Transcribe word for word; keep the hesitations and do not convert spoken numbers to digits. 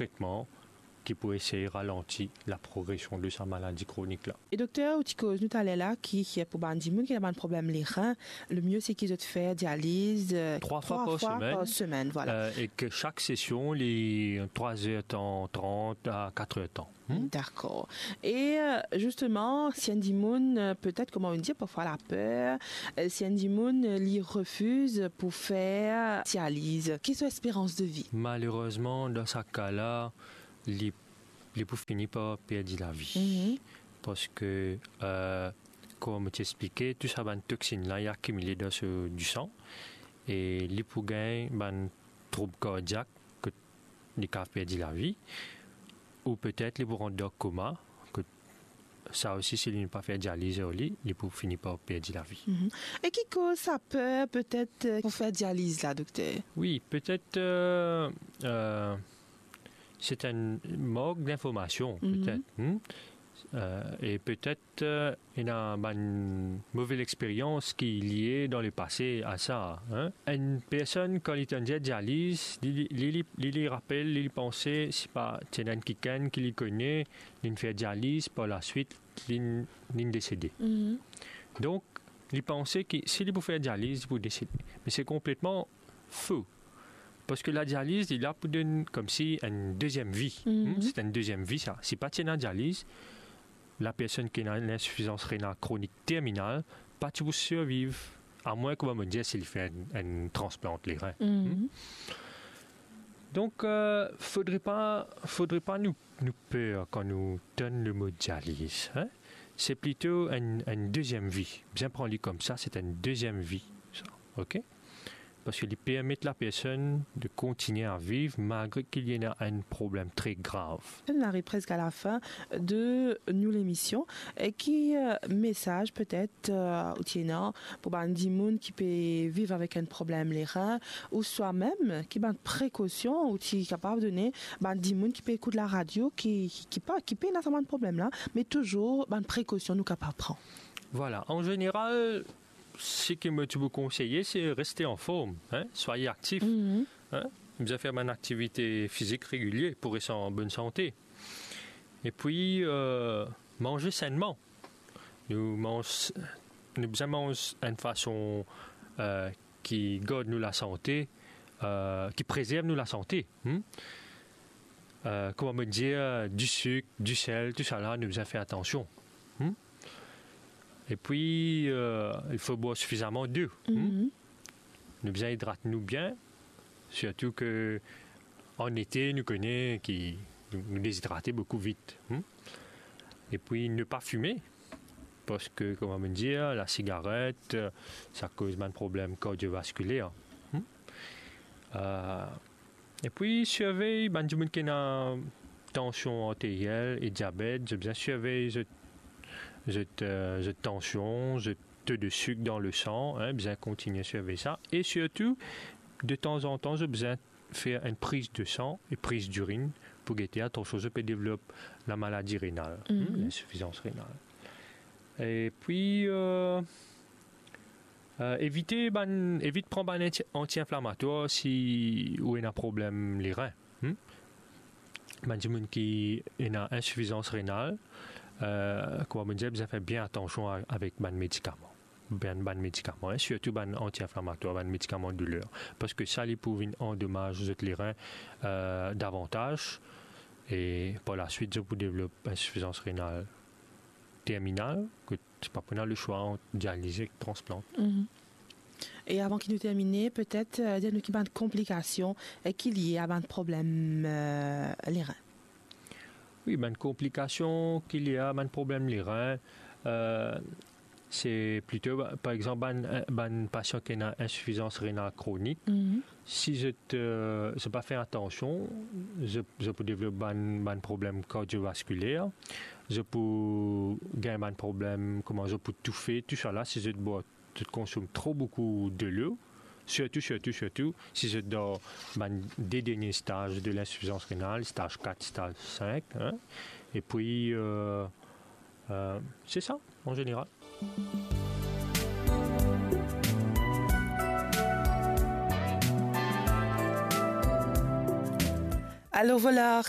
tretman ki pou esey ralanti laprogresion de sa maladi kronik la. E dokter, ou ti koz nou taler la ki, ki pou bann dimoun ki ena bann problem lerin, le mie se ki zot fer dializ, euh, trwa fwa trwa par fwa semenn. Par semenn, vwala. Euh, e ki sak sesion li trwa zer tan trant a kat er tan. Hmm? Dakor. E, euh, zisteman, si enn dimoun, euh, petet, kouma nou dir, parfwa laper, euh, si enn dimoun, euh, li refiz pou fer dializ, ki so esperans de vi? Malerezman, dan sa ka la, li, li pou fini par perdi lavi. Mhm. Parski, euh, kouma mo ti explike, tou sa bann toxine la, li akimile dan so, disan, e li pou gagn bann troub kardiak, kot li kav perdi lavi, ou petet li pou rant dan koma, kot sa osi, si li pa fer dializ ar li, li pou fini par perdi lavi. Mhm. E ki koz sa per, petet, euh, pou fer dializ la, dokter? Wi, petet, euh, euh, se enn mank dinformasion, mhm, petet, hmm? Euh, e petet, euh, ena bann move lexperyans ki lie dan lepase a sa, hein? Enn personn, kan li tann dir dializ, li, li, li, li, li rapel, li, li panse, sipa ti ena enn kikenn ki li kone, linn fer dializ, par laswit, linn, linn desede. Mhm. Donk, li panse ki si li pou fer dializ, li pou desede. Me se konpletman fo. Parski ladializ, li la pou donn koumsi enn deziem vi. Mhm. Hmm, se enn deziem vi, sa. Si pa ti ena dializ, lapersonn ki ena enn linsifizans renal kronik terminal pa ti pou sirviv, amwin, kouma mo dir, si li fer enn, enn transplant lerin. Mhm. Hmm? Donk, euh, fodre pa, fodre pa nou, nou per kan nou tann lemo dializ, hein? Se plito enn, enn deziem vi. Bizin pran li koumsa, se enn deziem vi, sa. Ok? Parski li permet lapersonn de kontinie a viv malgre ki li ena enn problem tre grav. Nou ariv preske a lafin de nou lemision. E ki, euh, mesaz petet, euh, ou ti ena pou bann dimoun ki pe viv avek enn problem lerin, ouswa mem ki bann prekosion ou ti kapav done bann dimoun ki pe ekout laradio, ki, ki, ki pa, ki pena sa bann problem la, me touzour bann prekosion nou kapav pran? Vwala, an zeneral, seki mo ti pou konseye, se reste anform, hein, swaye aktif, mhm, hein, bizin fer bann aktivite fizik regilie pou res an bonn sante. Epi, euh, manze senman. Nou manz, nou bizin manz enn fason, euh, ki gard nou lasante, euh, ki prezerv nou lasante, hmm? Euh, kouma mo dir, disik, disel, tousala, nou bizin fer atansion. Hmm? Epi, euh, il fo bwar sifizaman dlo. Hmm? Mhm. Nou bizin idrat nou bien, sirtou ke an ete, nou kone ki nou, nou dezidrate boukou vit. Hmm? Epi, ne pa fime, parski, kouma mo dir, lasigaret, sa koz bann problem kardiovaskiler. Hmm? Euh, Epi, sirvey bann dimoun ki ena tansion arteriel e diabet, zot bizin sirvey zot, zot, euh, zot tansion, zot to de sik dan lesan, hein, bizin kontinie sirvey sa. E sirtou, detanzantan, zot bizin fer enn priz de san e priz dirinn pou gete, atansion, zot pe devlop lamaladi renal, hmm, mhm, linsifizans renal. Epi, euh, Euh, evite bann, evit pran bann anti, anti-inflamatwar si ou ena problem lerin. Hmm? Bann dimoun ki ena insifizans renal, euh, kouma mo dir, bizin fer bien atansion a, avek bann medikaman. Bann, bann medikaman, hein, sirtou bann anti-inflamatwar, bann medikaman douler. Parski sa, li pou vinn andomaz zot lerin, euh, davantaz, e par laswit, zot pou devlop insifizans renal terminal, ki zot pa pou ena leswa ant dialize ek transplant. Mhm. E avan ki nou termine, petet, euh, dir nou ki bann konplikasion, euh, ki lie a bann problem, euh, lerin. Wi, bann konplikasion ki lie a bann problem lerin, euh, se plito, par exanp, bann, bann pasian ki ena insifizans renal kronik, mhm, si zot, euh, zot pa fer atansion, zot, zot pou devlop bann, bann problem kardiovaskiler, zot pou gagn bann problem, kouma zot pou toufe, tousala, si zot bwar, zot konsom tro boukou delo, sirtou, sirtou, sirtou, si zot dan bann de dernie staz de linsifizans renal, staz kat, staz sink, hein, epi, euh, euh, se sa, an zeneral. Alors voilà,